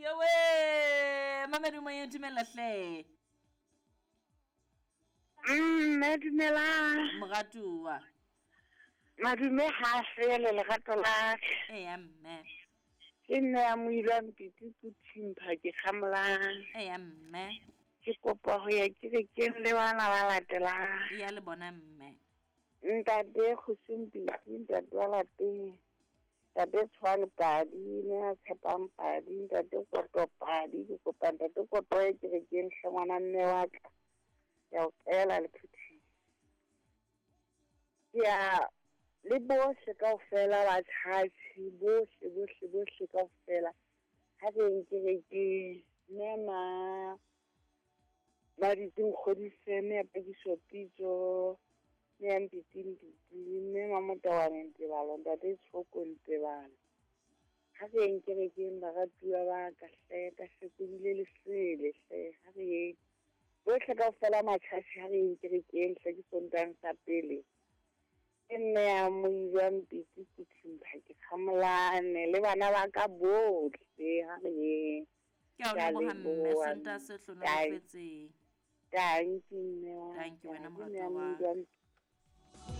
Yowe, mamedumo ye dumela hle. Mme dumelang. Moratuwa. Madume ha fele lerato la ka. Eya mme. Ke nne ya moilwa mpiti Puthimpha ke kgamolang. Eya mme. Ke kopa ho ya kerekeng le bana ba latelang. Eya le bona mme. Ntate Kgosi Mpiti, ntate wa lapeng. Ntate Tshwane Padi, mme ya tshepang Padi, ntate Koto Padi, ke kopa ntate Koto ye kerekeng hle ngwana mme wa ka. Ke a o qela le phuthing. Ke ya le bohle kaofela ba tjhatjhe, bohle bohle bohle kaofela. Ha re yeng kerekeng. Mme ma Maditsi Nkgodise, mme ya Pakiso Pitso, mme ya Mpiti Mpiti, mme Mamotawane Ntebalo, ntate Tshoko Ntebalo. Ha re yeng kerekeng baratuwa ba ka hle, ka hlekobile lesele hle, ha re yeng. Bohle kaofela matjhatjhe ha re yeng kerekeng hle ke Sontang sa pele. Ke nne ya Moija Mpiti Sethimpa ke Kgamolane le bana ba ka bohle ha re yeng. Ke a o Ke a leboha mme, leboha Sontaha se hlonolofetseng. Tanki mme wa Tanki ka, wena ke nne moratuwa ya wa Moija ka.